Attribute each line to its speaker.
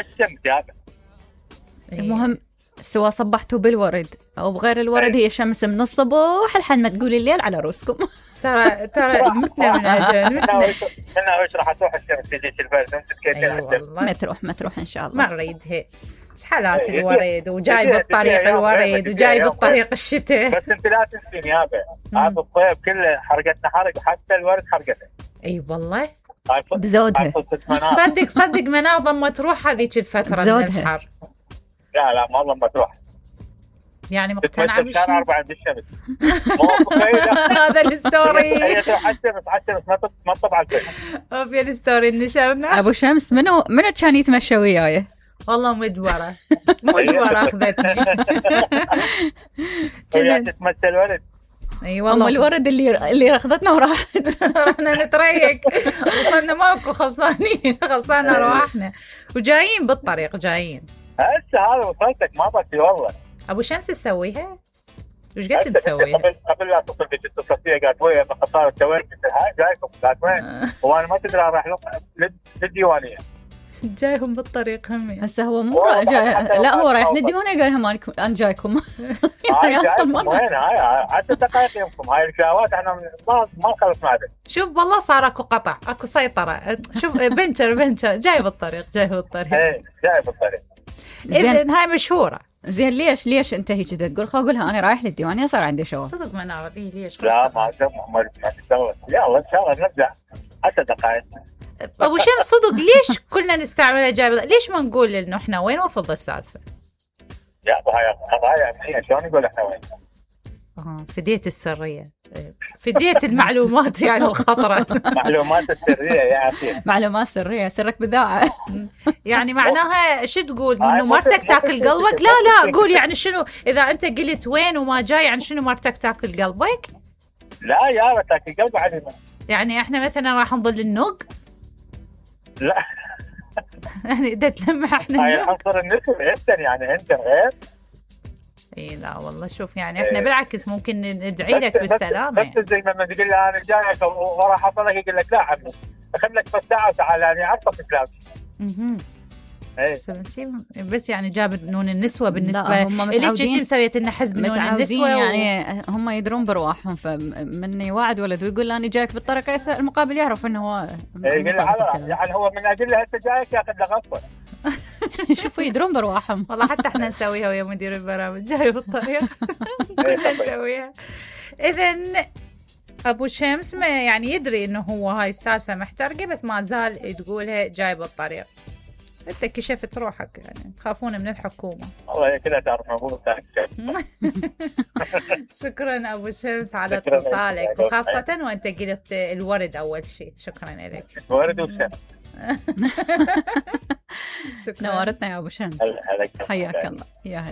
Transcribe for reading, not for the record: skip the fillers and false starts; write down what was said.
Speaker 1: الشمس يابا.
Speaker 2: المهم سواء صبحتوا بالورد او بغير الورد هي شمس من الصبح لحد ما تقول الليل على روسكم.
Speaker 3: ترى متنا من عجل.
Speaker 1: انا وش راح تروح الشمس تجيك البرد انت تكيتين
Speaker 2: ما تروح ان شاء الله.
Speaker 3: ما نريد هيك شحالات الورد وجاي بالطريق الورد وجاي بالطريق الشتاء.
Speaker 1: بس انت لا تنسين يابا هذا الصيف كله حرقتنا حرق حتى الورد حرقته.
Speaker 3: اي والله
Speaker 2: بزودها.
Speaker 3: صدق منال ضمت تروح هذيك الفترة من الحر.
Speaker 1: لا ما ضمت تروح
Speaker 3: يعني مقتنعة
Speaker 1: بالشمس.
Speaker 3: هذا الستوري.
Speaker 1: هي تروح عالشمس ما تطبع الفيلم.
Speaker 3: في الستوري نشرنا.
Speaker 2: ابو شمس منو كان يتمشى وياي؟
Speaker 3: والله مجبرة اخذتني.
Speaker 1: هي تتمشى الورد.
Speaker 3: اي والله
Speaker 2: الورد اللي اخذتنا وراحت.
Speaker 3: رحنا نتريق وصلنا ماكو خلصانة روحنا وجايين بالطريق جايين.
Speaker 1: هسه هذا وصلتك ما بطي والله.
Speaker 3: ابو شمس تسويها؟ وش قلت مسويها؟
Speaker 1: قبل لا تصل بك اتصلتي قالت ويا خطاره توين هاي جايكم قالت وين؟ وانا ما تدري راح للديوانيه.
Speaker 3: جايهم بالطريق همي.
Speaker 2: هسه هو مو لا هو رايح للديوانيه قال لهم انا جايكم.
Speaker 1: يعني اصلا وين هاي 10 دقائق يمكم هاي الشهوات احنا ما خلصنا عليه.
Speaker 3: شوف والله صار اكو قطع اكو سيطره. شوف بنشر جاي بالطريق.
Speaker 1: ايه جاي بالطريق.
Speaker 3: اذن هاي مشهوره.
Speaker 2: زين ليش انت هيك تقول قولها انا رايح للديوانيه صار عندي شغل.
Speaker 3: صدق ما نعرف ليش.
Speaker 1: لا ما تسوي يلا ان شاء الله نرجع 10 دقائق.
Speaker 3: ابو شمس صدق ليش كلنا نستعملها جايب؟ ليش ما نقول انه احنا وين وفض السالفه؟
Speaker 1: يا هاي قضايا امنيه شلون نقول احنا وين؟
Speaker 3: فديت السريه فديت المعلومات يعني الخطره.
Speaker 1: معلومات السريه يا اخي.
Speaker 2: معلومات سريه سرك بذاعه.
Speaker 3: يعني معناها شو تقول انه مرتك تاكل قلبك؟ لا قول يعني شنو اذا انت قلت وين وما جاي يعني شنو مرتك تاكل قلبك؟
Speaker 1: لا يا تاكل قلبك عادي. يعني
Speaker 3: احنا مثلا راح نظل النق؟
Speaker 1: لا
Speaker 3: يعني اذا تلمح احنا
Speaker 1: هاي عنصر النسوة يعني انت غير.
Speaker 3: اي لا والله شوف يعني احنا بالعكس ممكن ندعي لك بالسلامه.
Speaker 1: بس زي ما تقول له انا جايك وراح اصلك يقول لك لا عمي اخذ لك بس ساعه وتعال انا عارفك كلام.
Speaker 3: بس يعني جاب نون النسوه بالنسبه ليش جيتي مسويه لنا حزب نون النسوه
Speaker 2: يعني هم يدرون برواحهم فمن يوعد ولد ويقول انا جايك بالطريقه المقابل يعرف انه هو
Speaker 1: يعني هو من اجل هسه جايك ياخذ له غصبه.
Speaker 2: شوفوا يدرون برواحهم
Speaker 3: والله حتى احنا نسويها ويا مدير البرامج جاي بالطريق نسويها. اذن ابو شمس ما يعني يدري انه هو هاي السالفه محترقه بس ما زال تقولها جاي بالطريق. انت كشفت روحك يعني تخافون من الحكومه.
Speaker 1: والله كذا تعرف مو
Speaker 3: شكرا ابو شمس على اتصالك وخاصه وانت قلت الورد اول شيء. شكرا لك.
Speaker 1: الورد والشمس.
Speaker 2: نورتنا يا ابو شمس. حياك الله يا هلا.